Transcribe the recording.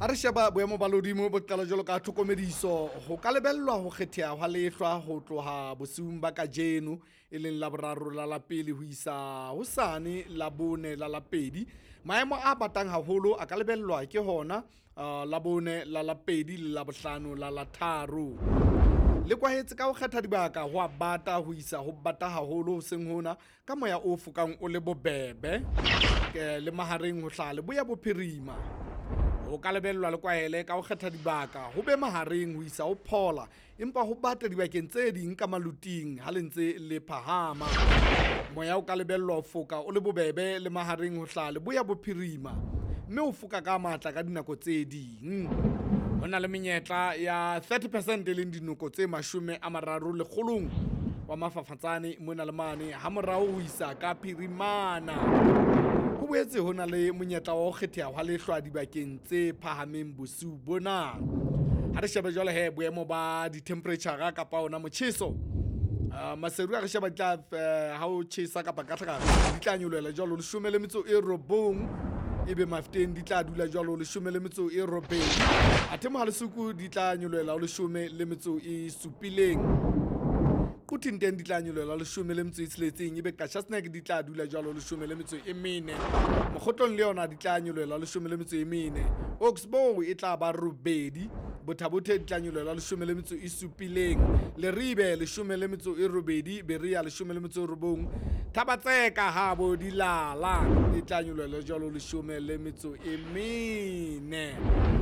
Ha re sheba boemo ba lehodimo bo qala jwalo ka tlhokomediso, ho ka lebellwa ho kgetheha hwa lehlwa ho tloha bosiung ba kajeno e leng Laboraro la la pele ho isa hosane Labone la la pedi. Maemo a batang haholo a ka lebellwa ke hona Labone la la pedi le Labohlano la la tharo. Le kwahetse ka ho kgetha dibaka ho a bata ho isa ho bata haholo hoseng hona ka moya o fokang o le bobebe le mahareng ho hlaha leboya bophirima. Ho ka lebellwa le kwahele ka ho kgetha dibaka ho be mahareng ho isa ho phola, empa ho bata dibakeng tse ding ka maluting ha le ntse le phahama. Moya o ka lebellwa ho foka o le bobebe le mahareng ho hlaha leboya bophirima, mme o foka ka matla ka dinako tse ding. Ho na le menyetla ya 30% e leng dinoko tse 30 lekgolong wa mafafatsane mona le mane ha morao ho isa ka phirimana. Ho boetse ho na le monyetla wa ho kgetheha hwa lehlwa dibakeng tse phahameng bosiu bona. Ha re shebe jwale he boemo ba di-temperature kapa ona motjheso. Maseru a re sheba di tla ha o tjhesa kapa ka tlhaka di tla nyolohela jwalo 19, ebe Mafteng di tla dula jwalo 18. Athe Mohalesuku di tla nyolohela 17. Quthing teng di tla nyolohela 16, ebe Qacha's Nek di tla dula jwalo 14. Mokgotlong le yona di tla nyolohela 14. Oxbow e tla ba 8, Bothabothe di tla nyolohela 17, Leribe 18, Berea 19, Thabatseka habo Dilala e tla nyolohela jwalo 14.